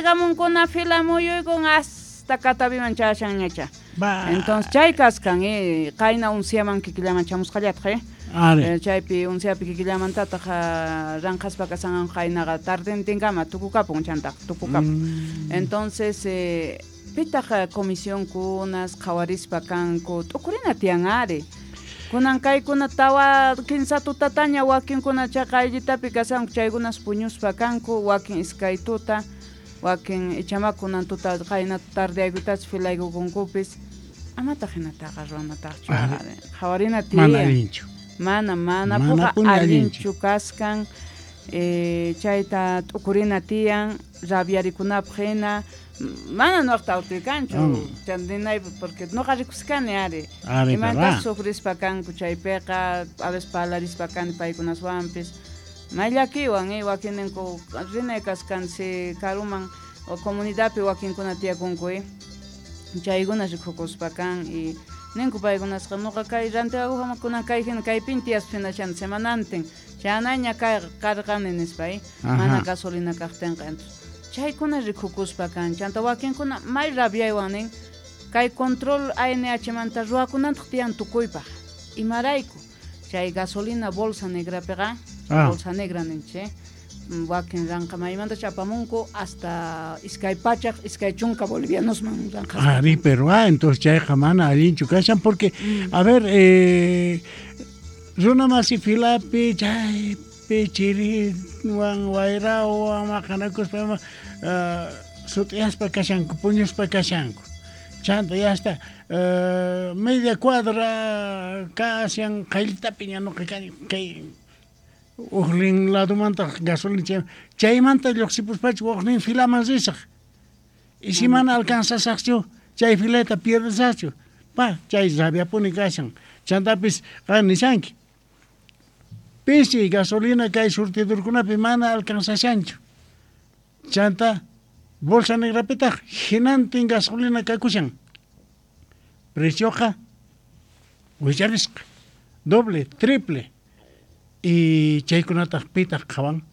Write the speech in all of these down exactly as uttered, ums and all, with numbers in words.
Gamunkuna fila muyuykun hasta Cataviman chashanñacha. Entonces chay kaskan eh, qayna unsiaman kikillaman chamusqallataq eh. Are. Chaypi unsiapi kikillamantataq ranqaspa kasanqa qaynaqa tardentinkama tukukapun chantaq tukukapun. Mm. Entonces eh, pitaq comisionkunas qhawarispa kanku t'ukurina tiyan ari. Kunan kaykuna tawa kinsa tutataña wakinkuna chaqa ayllitapi kasanku chaykunas puñuspa kanku wakin iskay tuta wakin ichama kunan tuta qayna tardeaykutachus filaykukunkupis amataq hinataqa ruwanataqchu Ari. qhawarina tiyan. Mana allinchu. Mana, mana Mana puqa puni allinchu allinchu. kaskan eh, chayta t'ukurina tiyan rabiarikunapaq hina mana nuqta autuykanchu Mm. chandinaypi porque nuqa rikuskani ari Ari, imantas verdad. sufrispa kanku chaypiqa a veces parlarispa kani paykunaswanpis may llakiwan eh, wakininku rinay kaskan si karuman o comunidadpi wakinkuna tiyakunku eh. Chaykuna rikukuspa kan y ninku paykunasqa nuqa kay rantiqakuqkunan kay hina kaypin tiyaspa hinashan semanantin chayanaña kay karqani nispa eh. Mana Ajá. gasolina kaqtinqa entonces chaykuna rikukuspa kan chanta wakinkuna may rabiaywan nin kay control A N H manta ruwakunantaq tiyan tukuypaq imarayku chay gasolina bolsa negrapiqa Ah. bolsa negra ninchik wakin ranqa maymanta apamunku hasta iskay pachaq iskay chunka bolivianosman ranqaspa. Ari, pero ah, entonces chayqa mana allinchu kashan porque Mm. a ver eh, runa masi filapi chaypi chiriwan wayrawan maqanakuspa ima, ah, sut'iyaspa kashanku puñuspa kashanku chanta ya hasta eh, media cuadra kashan qayllitapi ña nuqa kani kay ujnin ladomantaq gasolina chay chaymanta lluqsipuspachu ujnin filaman risaq y si mana alcanzasaqchu chay filata pierdesaqchu pa chay rabiapuni kashan chantapis qan nishanki pisi gasolina kay surtidorkunapi mana alcanzashanchu chanta bolsa negrapitaq hinantin gasolina kakushan precioqa wicharisqa doble triple y chaykunataq pitaq qhawan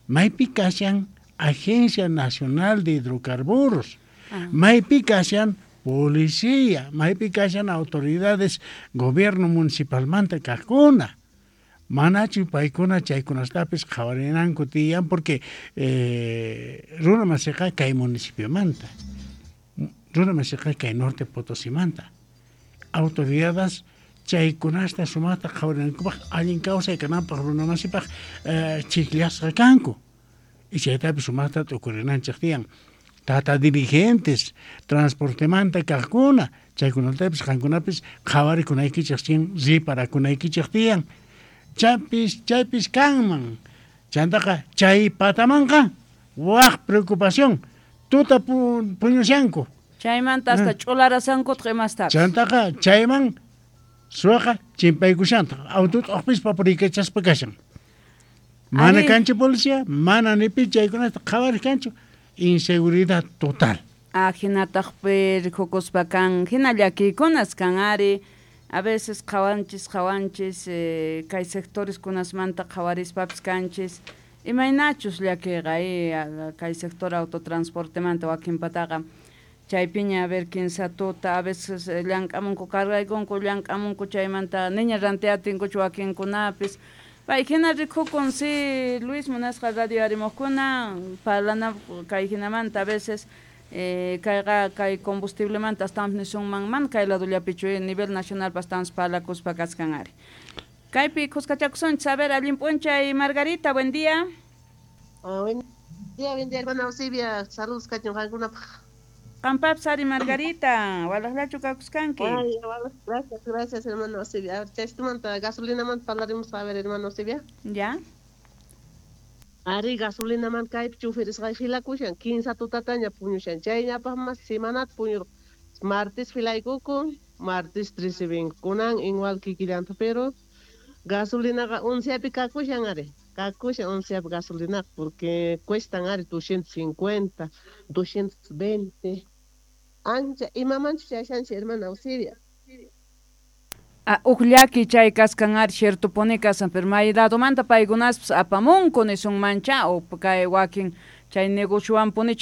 maypi kashan Agencia Nacional de Hidrocarburos Ah. maypi kashan policía maypi kashan autoridades gobierno municipalmanta kaqkuna manachu paykuna chaykunastapis qhawarinanku tiyan porque eh, runa masiqa kay municipiomanta runa masiqa kay norte Potosimanta autoridades chaykunasta sumaqta qhawarinankupaq allin kawsay kananpaq runa masipaq eh, chikllasqa kanku y chaytapis sumaqta t'ukurinanchik tiyan tata dirigentes transportemanta kaqkuna chaykunatapis qankunapis qhawarikunaykichik tiyan riparakunaykichik tiyan chaypis chaypis kanman chantaqa chay patamanqa waq preocupación tuta pu, puñushanku Chaymanta hasta Ah. ch'ularasankutaq imastapis chantaqa chayman suwaqa chimpaykushantaq aututa uqpispa puriykachaspa kashan mana Ari. kanchu policía mana ni pi chaykunata qhawariq kanchu inseguridad total Ah, hinataqpi rikukuspa kan hina llakiykunas kan ari a veces qhawanchis qhawanchis eh, kay sectores kunasmanta qhawarispapis kanchis imaynachus llakiyqa eh, kay sector autotransportemanta wakinpataqa chaypiña a ver kinsa tuta a veces eh, llank'amunku cargaykunku llank'amunku chaymanta niña rantiatinkuchu wakinkunapis pay hina rikukun si Luis munasqa radio arimuqkuna parlana kay hinamanta a veces eh, kayqa kay combustiblemanta astawanpis nisunman man kay ladollapichu eh, nivel nacional astawanpis parlakuspa kaskan ari kaypi khuskachakusunchis a ver allin p'unchay Margarita buen día. Ah, buen día, buen día, hermana Eusebia. Saludos kachun qankunapaq. Qampapis ari Margarita, walaqllachu kakuskanki. Ay, gracias, gracias, hermana Eusebia. A ver, chaytumanta gasolinamanta parlaremos a ver, hermana Eusebia. Ya. Ari gasolinaman kaypi chufirisqay filakushan, kinsa tutataña puñushan. Chayñapaq mas semanata puñurqa. Martes filaykukun, martes recibin. Kunan igual kikillanta, pero gasolinaqa onceapi kakushan ari. Kakushan onceapi gasolinaqa porque cuestan ari doscientos cincuenta, doscientos veinte. Ancha, imamanchu chashanchik, hermana Eusebia. Ah, uj llaki chay kaskan ari ciertopuni kasan, pero may ladomanta paykunaspis apamunku nisunmancha o kay wakin chay negociowanpuni